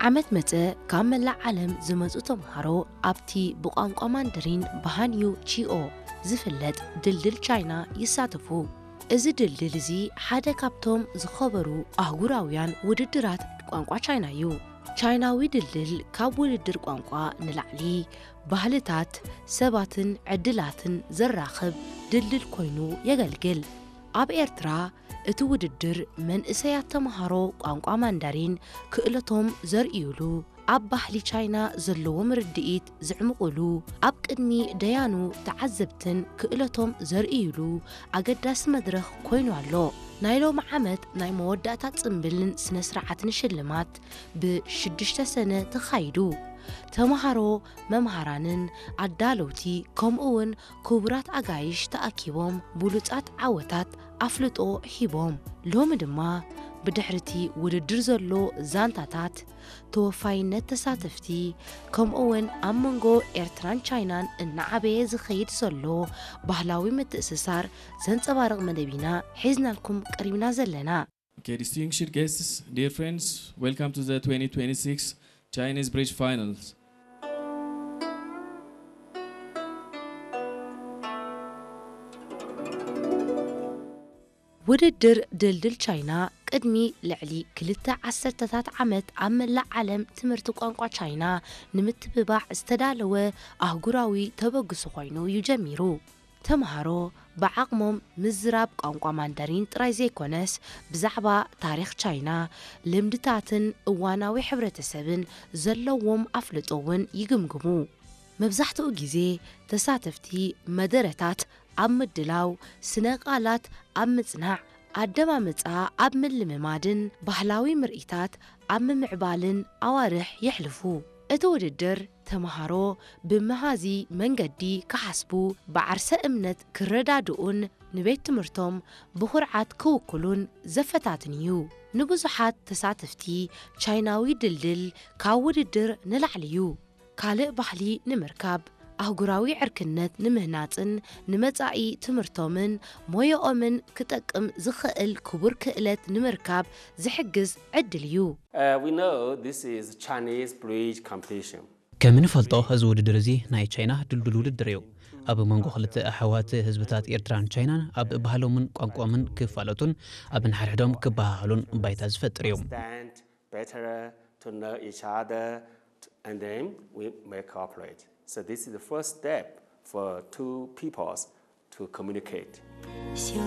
ዓመት መጸ ካብ መላእ ዓለም ዝመጹ ተምሃሮ ኣብቲ ብቋንቋ ማንደሪን ብሃንዩ ቺኦ ዝፍለጥ ድልድል ቻይና ይሳተፉ። እዚ ድልድል እዚ ሓደ ካብቶም ዝኸበሩ ኣህጉራውያን ውድድራት ቋንቋ ቻይና እዩ። ቻይናዊ ድልድል ካብ ውድድር ቋንቋ ንላዕሊ ባህልታት፣ ሰባትን ዕድላትን ዘራኽብ ድልድል ኮይኑ የገልግል። ኣብ ኤርትራ እቲ ውድድር መንእሰያት ተምሃሮ ቋንቋ ማንዳሪን ክእለቶም ዘርእዩሉ፣ ኣብ ባህሊ ቻይና ዘለዎም ርድኢት ዘዕምቑሉ፣ ኣብ ቅድሚ ደያኑ ተዓዘብትን ክእለቶም ዘርእዩሉ ኣገዳሲ መድረኽ ኮይኑ ኣሎ። ናይ ሎሚ ዓመት ናይ መወዳእታ ጽምብልን ስነ ስርዓትን ሽልማት ብሽዱሽተ ሰነ ተኻይዱ። ተምሃሮ፣ መምሃራንን ኣዳለውቲ ከምኡ እውን ክቡራት ኣጋይሽ ተኣኪቦም ብሉጻት ዓወታት ኣፍልጦ ሂቦም። ሎሚ ድማ ብድሕሪቲ ውድድር ዘሎ ዛንታታት፣ ተወፋይነት ተሳተፍቲ፣ ከምኡ እውን ኣብ መንጎ ኤርትራን ቻይናን እናዓበየ ዝኸይድ ዘሎ ባህላዊ ምትእስሳር ዘንጸባርቕ መደብ ኢና ሒዝናልኩም ቀሪብና ዘለና። Okay, distinguished guests, dear friends, welcome to the twenty twenty-six Chinese Bridge Finals. ውድድር ድልድል ቻይና ቅድሚ ልዕሊ ክልተ ዓሰርተታት ዓመት ኣብ መላእ ዓለም ትምህርቲ ቋንቋ ቻይና ንምትብባዕ ዝተዳለወ ኣህጉራዊ ተበግሶ ኮይኑ እዩ ጀሚሩ። ተምሃሮ ብዓቕሞም ምዝራብ ቋንቋ ማንደሪን ጥራይ ዘይኮነስ፣ ብዛዕባ ታሪኽ ቻይና፣ ልምድታትን እዋናዊ ሕብረተሰብን ዘለዎም ኣፍልጦ እውን ይግምግሙ። መብዛሕትኡ ግዜ ተሳተፍቲ መደረታት ኣብ ምድላው፣ ስነ ቃላት ኣብ ምጽናዕ፣ ኣደማምጻ ኣብ ምልምማድን ባህላዊ ምርኢታት ኣብ ምምዕባልን ኣዋርሕ የሕልፉ። እቲ ውድድር ተምሃሮ ብመሃዚ መንገዲ ክሓስቡ፣ ብዓርሰ እምነት ክረዳድኡን ንቤት ትምህርቶም ብኹርዓት ክውክሉን ዘፈታትን እዩ። ንብዙሓት ተሳተፍቲ ቻይናዊ ድልድል ካብ ውድድር ንላዕሊ እዩ። ካልእ ባህሊ ንምርካብ፣ ኣህጉራዊ ዕርክነት ንምህናጽን ንመጻኢ ትምህርቶምን ሞያኦምን ክጠቅም ዝኽእል ክቡር ክእለት ንምርካብ ዝሕግዝ ዕድል እዩ። Uh, we know this is Chinese bridge competition. ከም እንፈልጦ እዚ ውድድር እዚ ናይ ቻይና ድልዱል ውድድር እዩ። ኣብ መንጎ ክልተ ኣሕዋት ህዝብታት ኤርትራን ቻይናን ኣብ ባህሎምን ቋንቋኦምን ክፋለጡን ኣብ ንሓድሕዶም ክበሃሃሉን ባይታ ዝፈጥር እዩ። Understand better to know each other, and then we may cooperate. So this is the first step for two peoples to communicate.